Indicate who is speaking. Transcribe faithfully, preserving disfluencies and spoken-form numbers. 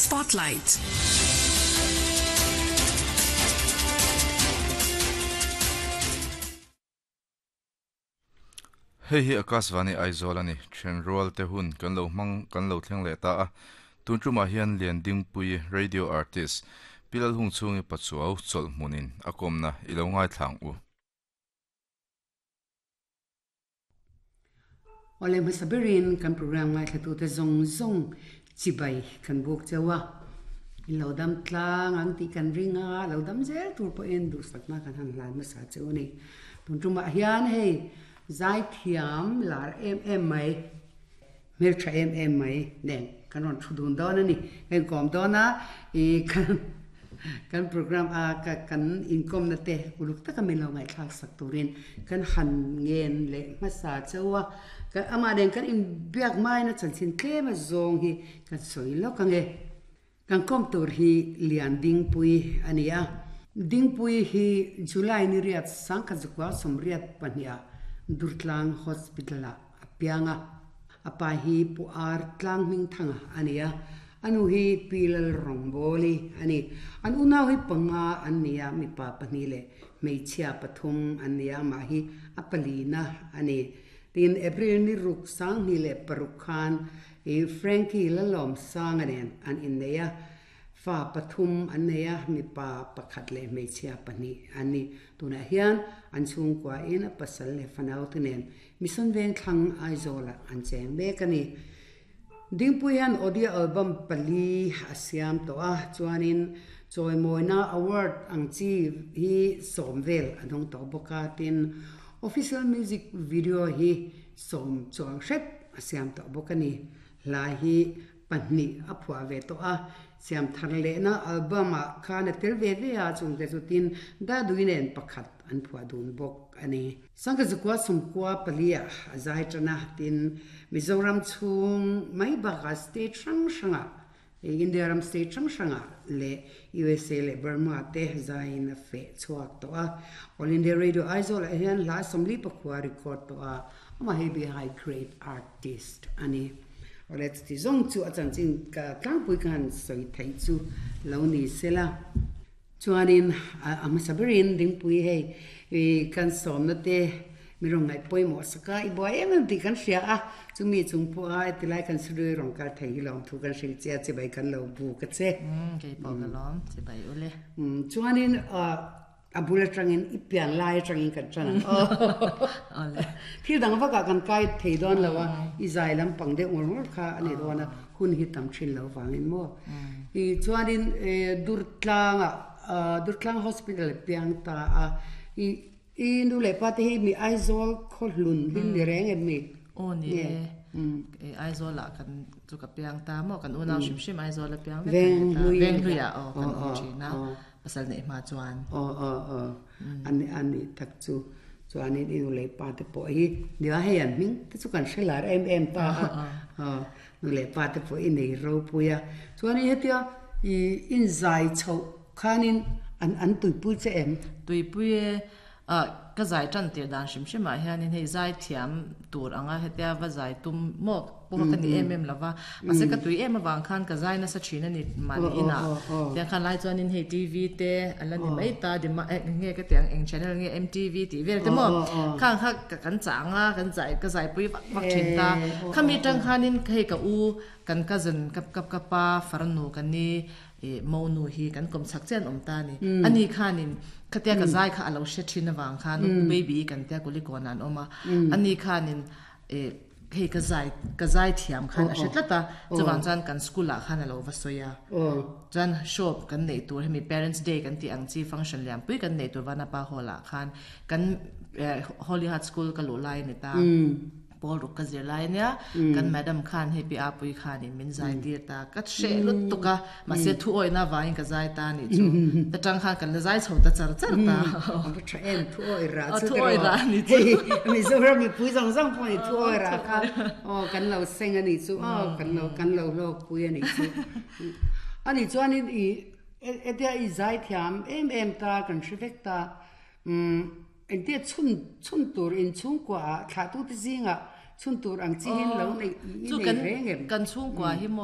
Speaker 1: Spotlight.
Speaker 2: Hei hi Akashvani Aizawl ani thenrual te hun kan lo hmang kan lo thleng leh ta a tun tumah hian Liandingpui radio artist Pilal hung chungi pachuau chawlh hmunin a kawmna i lo ngai thlang u.
Speaker 3: Ole masabirin kan program ngai thlatu te zong zong chibai kan buk chewa in lo dam tlang ang ti kan ringa lo dam zel tur po en du sakna kan han hlan ma sa cheu ni tun tumah hian hei zai thiam lar em em mai mel tha em em mai nen kan ron thu dun dawn ani kan kom dawn a i kan kan program a ka kan income na te uluk taka min lo ngai thlak sak turin kan han ngen le hmasa chewa kan ama den kan in biak mai na chanchin tlem a zawng hi kan sawi lawk ange kan kom tur hi Liandingpui ania Dingpui hi July ni riat sangkha zukwa somriat pahnia Durtlang Hospital a apianga apa hi pu ar tlang hming thanga ania anu hi pilal rongboli ani an unau hi panga ania mi pa pahni le hmeichhia pathum ania ma hi apalina ani tin April ni ruk sang ni le paruk khan e Frankie lalom sang anen an inneia fa pathum ania mi pa pakhat le hmeichhia pahni ani tuna hian an chhungkua in a pasal le fanau tenen mison veng thlang Aizawl an cheng mek ani Dingpui hian audio album pali a siam to a chuanin chawimawina award ang chi hi sawm vel a dawng tawh bawk a tin official music video hi sawm chuang hret a siam tawh bawk ani hla hi pahnih a phuah ve tawh a siam thar lehna album ah khan a tel ve ve a chungte chu tin daduinen pakhat an phuah dun bawk ani sangkha zukua sawmkua pali ah a zai tana tin Mizoram chhung mai bakah state hrang hranga India ram state hrang hranga le U S A le Burma te zaiin a feh chhuak tawh a All India Radio Aizawl ah hian hla sawmli pakhua record tawh a amah hei bi high grade artist ani ole ti zong chu a chanchin ka tlangpui khan sawi thei chu lo ni sela chuanin a hmasaberin Dingpui hei kan sawmna te mi rawng ngai pawimawh saka i buai em em tih kan hria a chumi chung pawh a tilai kan sirui rawng kal thei hi lawm thu kan hril che chibai kan lo bu ka che
Speaker 4: kei pawh ka lawm chibai ule
Speaker 3: chuanin a bul atangin i pian lai atangin kan than ang
Speaker 4: ole
Speaker 3: thil dang vaka kan kai thei dawn lo a i zai lampang deuh ngawr ngawr kha ani dawn a hun hi tam thin lo wangin mo i chuanin Durtlanga Durtlang Hospital piang ta a i i nu le pa te hi mi Aizawl khaw hlun hlim ni reng em mi
Speaker 4: o ni e Aizawl ah kan chu ka piang ta mo kan unau hrim hrim Aizawl a piang vek
Speaker 3: veng
Speaker 4: ta
Speaker 3: hlui
Speaker 4: veng hluia o kan awm thina pasal nei hma chuan
Speaker 3: o o o ani ani tak chu chuanin i nu le pa te pawh hi nia hei an hming te chu kan hrelar em em ta a nu le pa te pawh i nei ro puia chuanin hetia i in zai chho khanin an an tuipui che em
Speaker 4: tuipui a ka zai tan tir dan hrim hrim ah hianin hei zai thiam tur anga hetia va zai tum mo pawh ka ni em em lova mahse ka tui em awang khan ka zai nasa thin ani mahni ina tiang khan lai chuanin hei T V te ala ni mai ta dima nge ka tiang eng channel nge M T V tih vel te mo khang kha kan changa kan zai ka zai pui vak vak thin ta khami tang khanin hei ka u kan cousin kap kap kapa farnu kan ni e monu hi kan kom chak chen om ta ni ani khanin khatia ka zai kha alo she thin awang khan baby kan tia kuli kon an oma ani khanin e hei ka zai ka zai thiam khan a hretlata chuwang chuan kan school ah khan alo va soya chuan shop kan nei tur hemi parents day kan ti ang chi function liam pui kan nei tur vanapa hall ah khan kan Holy Heart School ka lu lai ni ta Paul ruk ka zir lai nia kan madam khan hei pi a pui khan in min zai tir ta ka hre lut tuka mahse thu oi na wangin ka zai ta ni chu ta tang khan kan la zai chho ta char char ta
Speaker 3: a tha em thu oi ra chu
Speaker 4: thu oi ra ni chu
Speaker 3: Mizoram mi pui zong zong pawh ni thu oi ra kha o kan lo seng ani chu o kan lo kan lo lo pui ani chu ani chuanin i etia i zai thiam em em ta kan hrivek ta um entia chun chun tur in chung kwa thla tu te zinga chun tur ang chi hin lo nei
Speaker 4: chu
Speaker 3: nei
Speaker 4: kan
Speaker 3: reng em
Speaker 4: kan chung kwa hi mo